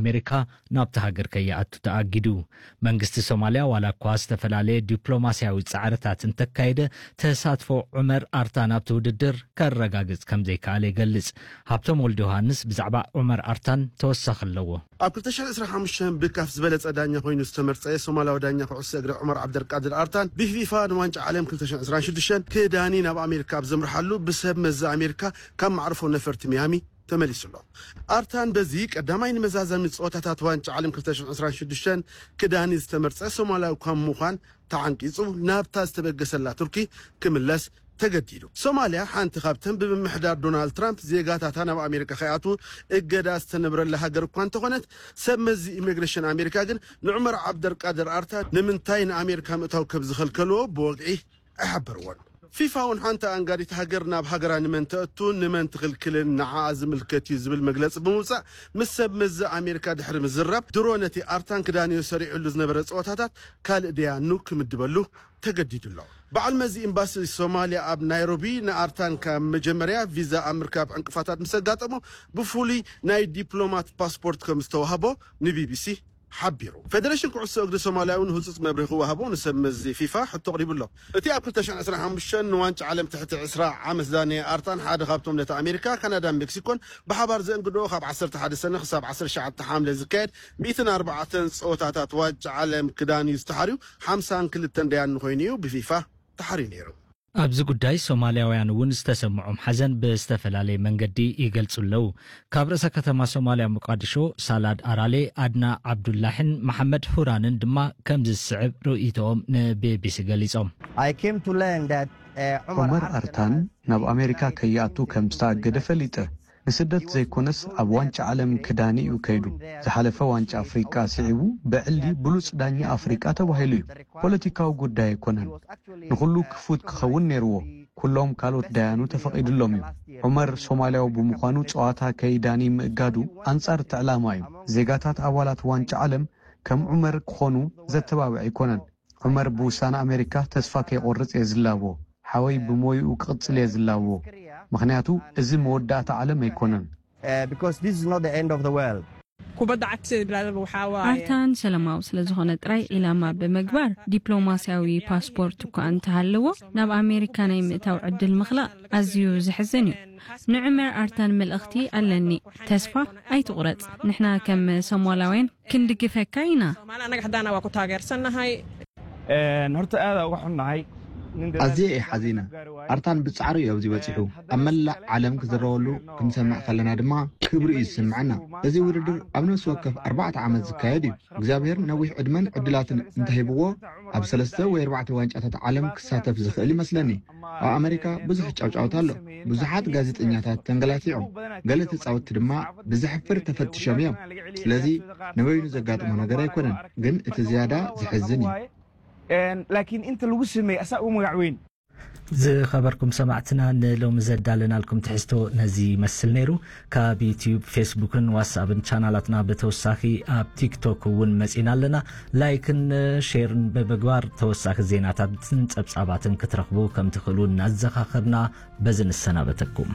ኣሜሪካ ናብቲ ሃገር ከይኣቱ ተኣጊዱ። መንግስቲ ሶማልያ ዋላ እኳ ዝተፈላለየ ዲፕሎማስያዊ ጻዕርታት እንተካየደ፣ ተሳትፎ ዑመር ኣርታን ኣብቲ ውድድር ከረጋግጽ ከም ዘይከኣለ ይገልጽ። ሃብቶም ወልደ ዮሃንስ ብዛዕባ ዑመር ኣርታን ተወሳኺ ኣለዎ። ኣብ ክልተ ሽሕን ዕስራን ሓሙሽተን ብካፍ ዝበለጸ ዳኛ ኮይኑ ዝተመርጸ ሶማላዊ ዳኛ ኩዕሶ እግሪ ዑመር ዓብደልቃድር ኣርታን ብፊፋ ንዋንጫ ዓለም ክልተ ሽሕን ዕስራን ሽዱሽተን ክዳኒ ናብ ኣሜሪካ ኣብ ዘምርሓሉ ብሰብ መዚ ኣሜሪካ ካብ ማዕርፎ ነፈርቲ ሚያሚ ተመሊሱ ኣሎ። ኣርታን በዚ ቀዳማይ ንመዛዘሚ ጸወታታት ዋንጫ ዓለም ክልተ ሽሕን ዕስራን ሽዱሽተን ክዳኒ ዝተመርጸ ሶማላዊ ካብ ምዃን ተዓንቂጹ ናብታ ዝተበገሰላ ቱርኪ ክምለስ ተገዲዱ። ሶማልያ ሓንቲ ካብተን ብምምሕዳር ዶናልድ ትራምፕ ዜጋታታ ናብ ኣሜሪካ ከይኣትዉ እገዳ ዝተነብረላ ሃገር እኳ እንተኾነት፣ ሰብ መዚ ኢሚግሬሽን ኣሜሪካ ግን ንዑመር ዓብደልቃድር ኣርታን ንምንታይ ንኣሜሪካ ምእታው ከም ዝኸልከልዎ ብወግዒ ኣይሓበርዎን። ፊፋ እውን ሓንቲ ኣንጋዲት ሃገር ናብ ሃገራ ንመን ተእቱ ንመን ትኽልክልን ንዓኣ ዝምልከት እዩ ዝብል መግለጺ ብምውጻእ፣ ምስ ሰብ መዚ ኣሜሪካ ድሕሪ ምዝራብ፣ ድሮ ነቲ ኣርታን ክዳንዮ ሰሪዕሉ ዝነበረ ጸወታታት ካልእ ደያኑ ክምድበሉ ተገዲዱ ኣሎ። በዓል መዚ ኤምባሲ ሶማልያ ኣብ ናይሮቢ ንኣርታን ካብ መጀመርያ ቪዛ ኣብ ምርካብ ዕንቅፋታት ምስ ኣጋጠሞ፣ ብፍሉይ ናይ ዲፕሎማት ፓስፖርት ከም ዝተዋህቦ ንቢቢሲ ሓቢሩ። ፌደሬሽን ኩዕሶ እግሪ ሶማልያ እውን ህጹጽ መብርሂ ክወሃቦ ንሰብ መዚ ፊፋ ሕቶ ኣቕሪቡ ኣሎ። እቲ ኣብ ክልተ ሽሕን ዕስራን ሓሙሽተን ንዋንጫ ዓለም ትሕቲ ዕስራ ዓመት ዝዳነየ ኣርታን ሓደ ካብቶም ነቲ ኣሜሪካ፣ ካናዳን ሜክሲኮን ብሓባር ዘእንግድኦ ካብ ዓሰርተ ሓደ ሰነ ክሳብ ዓሰርተ ትሽዓተ ሓምለ ዝካየድ ሚእትን ኣርባዕተን ጸወታታት ዋንጫ ዓለም ክዳንዩ ዝተሓርዩ ሓምሳን ክልተን ደያኑ ኮይኑ እዩ ብፊፋ ተሓርዩ ነይሩ። ኣብዚ ጉዳይ ሶማልያውያን እውን ዝተሰምዖም ሓዘን ብዝተፈላለየ መንገዲ ይገልጹ ኣለዉ። ካብ ርእሰ ከተማ ሶማልያ ሞቃዲሾ ሳላድ ኣራሌ፣ ኣድና ዓብዱላሕን መሓመድ ሁራንን ድማ ከምዚ ዝስዕብ ርእይቶኦም ንቢቢሲ ገሊጾም። I came to learn that uh, ዑመር ኣርታን ናብ ኣሜሪካ ከይኣቱ ከም ዝተኣገደ ፈሊጠ። ንስደት ዘይኮነስ ኣብ ዋንጫ ዓለም ክዳኒ እዩ ከይዱ። ዝሓለፈ ዋንጫ ኣፍሪቃ ስዒቡ ብዕሊ ብሉጽ ዳኛ ኣፍሪቃ ተባሂሉ እዩ። ፖለቲካዊ ጉዳይ ኣይኮነን። ንኹሉ ክፉት ክኸውን ነይርዎ። ኩሎም ካልኦት ዳያኑ ተፈቒዱሎም እዩ። ዑመር ሶማልያዊ ብምዃኑ ጸዋታ ከይዳኒ ምእጋዱ ኣንጻር እቲ ዕላማ እዩ። ዜጋታት ኣባላት ዋንጫ ዓለም ከም ዑመር ክኾኑ ዘተባብዕ ኣይኮነን። ዑመር ብውሳነ ኣሜሪካ ተስፋ ከይቆርጽ እየ ዝላቦ። ሓወይ ብሞይኡ ክቕጽል እየ ዝላቦ። ምኽንያቱ እዚ መወዳእታ ዓለም ኣይኮነን። Uh, because this is not the end of the world. ኣርታን ሰላማዊ ስለ ዝኾነ ጥራይ ዒላማ ብምግባር ዲፕሎማስያዊ ፓስፖርት እኳ እንተሃለዎ ናብ ኣሜሪካ ናይ ምእታው ዕድል ምኽላእ ኣዝዩ ዘሕዝን እዩ። ንዑመር ኣርታን መልእኽቲ ኣለኒ። ተስፋ ኣይትቑረጽ። ንሕና ከም ሶማላውያን ክንድግፈካ ኢና። ኣዝየ እየ ሓዚነ። ኣርታን ብጻዕሩ እዩ ኣብዚ በጺሑ። ኣብ መላእ ዓለም ክዝረበሉ ክንሰምዕ ከለና ድማ ክብሪ እዩ ዝስምዐና። እዚ ውድድር ኣብ ነፍሲ ወከፍ ኣርባዕተ ዓመት ዝካየድ እዩ። እግዚኣብሔር ነዊሕ ዕድመን ዕድላትን እንተሂብዎ ኣብ ሰለስተ ወይ ኣርባዕተ ዋንጫታት ዓለም ክሳተፍ ዝኽእል ይመስለኒ። ኣብ ኣመሪካ ብዙሕ ጫውጫውታ ኣሎ። ብዙሓት ጋዜጠኛታት ተንገላቲዖም፣ ገለ ተጻወትቲ ድማ ብዘሕፍር ተፈቲሾም እዮም። ስለዚ ንበይኑ ዘጋጥሞ ነገር ኣይኮነን፣ ግን እቲ ዝያዳ ዘሕዝን እዩ። ላኪን እንተ ልጉ ስመይ ኣሳኡ መጋዕወይን ዝኸበርኩም ሰማዕትና ንሎሚ ዘዳለናልኩም ትሕዝቶ ነዚ ይመስል ነይሩ። ካብ ዩትዩብ፣ ፌስቡክን ዋትስኣፕን ቻናላትና ብተወሳኺ ኣብ ቲክቶክ እውን መጺና ኣለና። ላይክን ሼርን ብምግባር ተወሳኺ ዜናታትን ጸብጻባትን ክትረኽቡ ከም ትኽእሉ እናዘኻኸርና በዚ ንሰናበተኩም።